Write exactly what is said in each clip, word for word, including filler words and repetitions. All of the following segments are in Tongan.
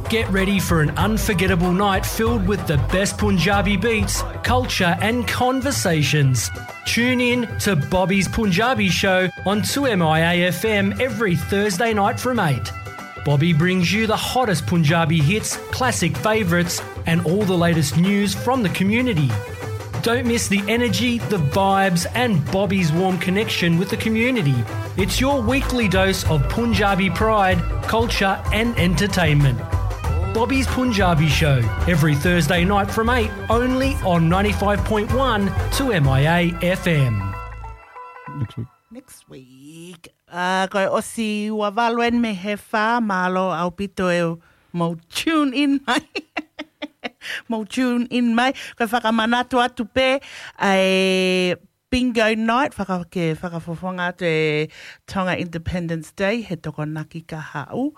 Get ready for an unforgettable night filled with the best Punjabi beats, culture, and conversations. Tune in to Bobby's Punjabi Show on two M I A F M every Thursday night from eight. Bobby brings you the hottest Punjabi hits, classic favourites, and all the latest news from the community. Don't miss the energy, the vibes, and Bobby's warm connection with the community. It's your weekly dose of Punjabi pride, culture, and entertainment. Bobby's Punjabi Show, every Thursday night from eight, only on ninety-five point one two M I A F M. Next week. Next week. Uh, ko e ʻosi ua valu eni mei he fā, mālō ʻaupito e mou tune in mai. Mou tune in mai. Ko e fakamanatu atu pē ʻa e bingo night, faka, ke fakafofonga atu e Tonga Independence Day, he Tokonaki kahaʻu.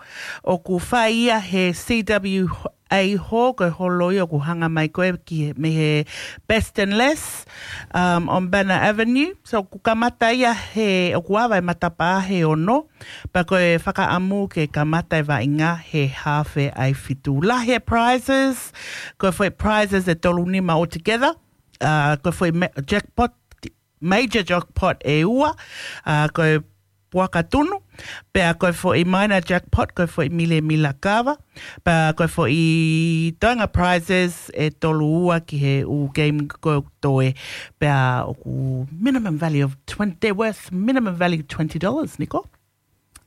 ʻOku fai ia he C W A Hall, ko e holo ia ʻoku hanga mai ko ē ki he, mei he Best and Less, um, on Banner Avenue. So, ʻoku kamata ia he, ʻoku ava e matapā he ono, pea ko e fakaʻamu ke kamata e vaʻinga he haafe ʻa e fitu. Lahi e prizes, ko e foʻi prizes ʻe tolu nima altogether. Uh, ko e foʻi ma-, jackpot, major jackpot ʻe ua, uh, ko e puaka tunu, pea ko e foʻi minor jackpot, ko e foʻi milemila kava, pea ko e foʻi toenga prizes ʻe tolu ua ki he ʻū game ko ē ʻoku toe, pea ʻoku minimum value of twenty, they're worth minimum value twenty dollars, Niko.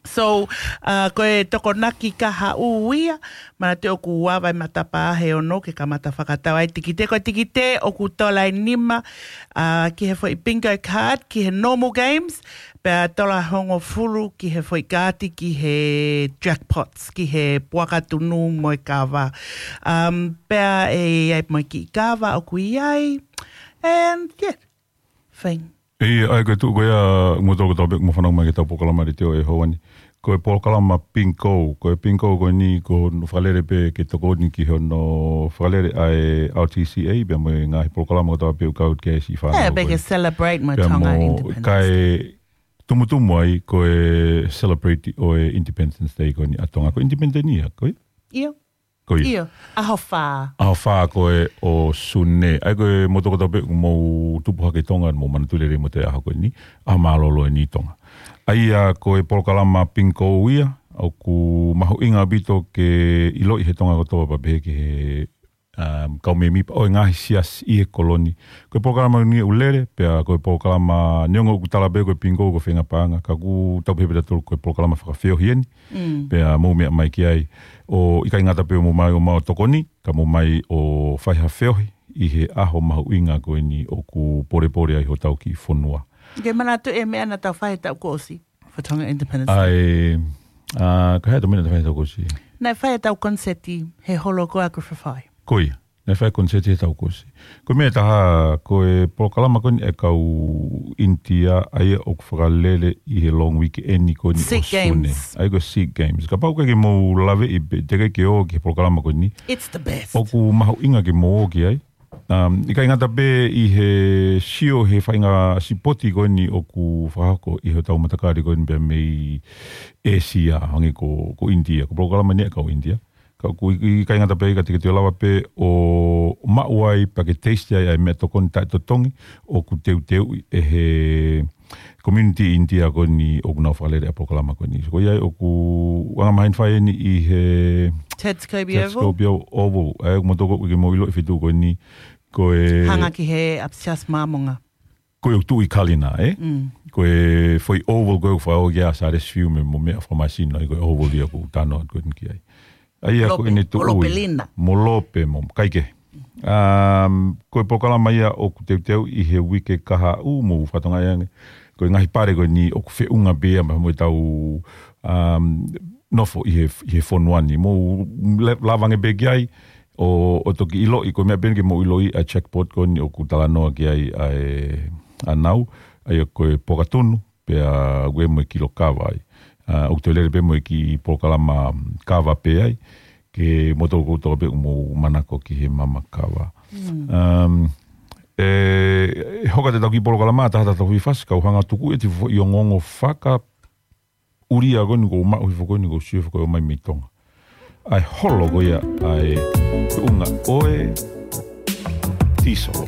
So, uh, ko e Tokonaki kahaʻu ia, manatu ʻoku ava e matapā he ono ke kamata fakatau ai tikite, ko e tikite ʻoku tola ʻe nima, uh, ki he foʻi bingo card, ki he normal games, pea tola hongofulu ki he foʻi kaati, ki he jackpots, ki he puaka tunu mo e kava. Um, pea ʻe ʻi ai mo e kiʻi kava ʻoku ʻi ai. And, yeah, thing. ʻIo, ʻa ia ko e tuʻu ko ia, mo toko tau pē, mo fanau mai ke tau polokalama ʻi te o e hoa ni. Ko e polokalama bingo, ko e bingo ko eni ko hono fakalele pē ke tokoni ki hono fakalele ʻa e R T C A, pea mo e ngaahi polokalama ko tau pē ʻoku kau ki ai siʻi fānau. ʻIo, pē ke celebrate mo Tonga Independence Day. Kae tumutumu ai ko e celebrate ʻo e Independence Day ko eni ʻa Tonga. Ko e Independence ia, ko e? ʻIo. Ko ia. ʻIo, ʻaho fā. ʻAho fā ko ē ʻo Sune. ʻA ia ko e mo toko tau pē ʻoku mou tupu hake ʻi Tonga, mou manatu lelei mo e ʻaho ko eni, ʻaho mālōlō eni ʻi Tonga. ʻA ia ko e polokalama bingo ia, ʻoku mahuʻinga ʻaupito ke ʻiloʻi he Tonga kotoa pea pehē ki he, um, kau mēmipa ʻo e ngaahi siasi ʻi he koloni. Ko e polokalama ni ʻoku lele, pea ko e polokalama neongo ʻoku tala pē ko e bingo ko e feinga paʻanga, ka ʻoku tau pehē pē tautolu ko e polokalama fakafeohi eni, pea mou meʻa mai ki ai. ʻO ʻikai ngata pē ʻo mou mai ʻo maʻu tokoni, ka mou mai ʻo fai ha feohi ʻi he ʻaho mahuʻinga ko eni ʻoku polepole ai hotau kiʻi fonua. Ke manatu e meʻa naʻa tau fai he taʻu kuo ʻosi, for Tonga Independence Day. ʻA e, ʻa, ka hea tau meʻa naʻa tau fai he taʻu kuo ʻosi. Naʻe fai ʻetau koniseti he holo ko ē ʻa Griffith High. Ko ia. Naʻe fai koniseti he taʻu kuo ʻosi. Ko e meʻa ʻe taha, ko e polokalama ko eni ʻa e kau ʻInitia, ʻa ia ʻoku fakalele ʻi he long weekend ko eni ʻo Sune. Sikh Games. ʻA ia ko e Sikh Games. Kapau ʻoku ʻikai ke mou laveʻi pē, teʻeki ke ō ki he polokalama ko eni. It's the best. ʻOku mahuʻinga ke mou ō ki ai. Um, ʻikai ngata pē ʻi he sio he faʻahinga sipoti ko eni ʻoku fakahoko ʻi hotau matakali ko eni pea mei ʻĒsia, hangē ko, ko ʻInitia. Ko e polokalama ni ʻa e kau ʻInitia. Ka ʻoku ʻi-, ʻikai ngata pē ia ka te ke toe lava pē ʻo maʻu ai, pea ke taste ai ʻa e meʻa tokoni taʻetotongi ʻoku teuteuʻi ʻe he community ʻInitia ko eni ʻoku nau fakalele ʻa e polokalama ko eni. So ko ia ai ʻoku anga maheni fai eni ʻi he Ted Scobie Oval. Ted Scobie Oval. ʻA ia ʻoku mou toko ʻoku ke mou ʻilo e feituʻu ko eni, ko e hanga ki he ʻapisiasi Māmonga. Ko e ʻoku tuʻu ʻi Kalina, ē? Mm. Ko e foʻi oval ko ē ʻoku fakaʻoki ʻa Sālesi Fiu mei mo meʻa fakamāsino, ʻa ia ko e oval ia ʻoku tano atu ko eni ki ai. ʻA ia ko Lope, ʻene tuʻu mo Lope ʻi Lina. Mo Lope mo, kae kehe. Um, ko e polokalama ia ʻoku teuteuʻi he uike kahaʻu, mou fakatokangaʻi ange. Ko e ngaahi pale ko eni ʻoku feʻunga pē ia mo ʻetau, um, nofo ʻi he, ʻi he fonua ni. Mou le-, lava ange pē ki ai, ʻo, ʻo toki ʻiloʻi, ko e meʻa pē eni ke mou ʻiloʻi ʻa e jackpot ko eni ʻoku talanoa ki ai ʻa e, ʻa Nau, ʻa ia ko e puaka tunu, pea ʻoku ʻi ai mo e kilo kava ai. ʻA, ʻoku toe lele pē mo e kiʻi polokalama kava pē ai, ke mou toko tau pē ʻoku mou manako ki he mama kava. Um, ʻe, ʻe hoko atu ʻetau kiʻi polokalama, taha taha tau fifasi, kau hanga tuku ʻeti foʻi ongoongo faka ʻulia ko eni ʻoku ou maʻu hifo ko eni ʻoku ou sio hifo ko ē ʻomai mei Tonga. ʻa e holo ko ia ʻa e tuʻunga ʻo e tīsolo.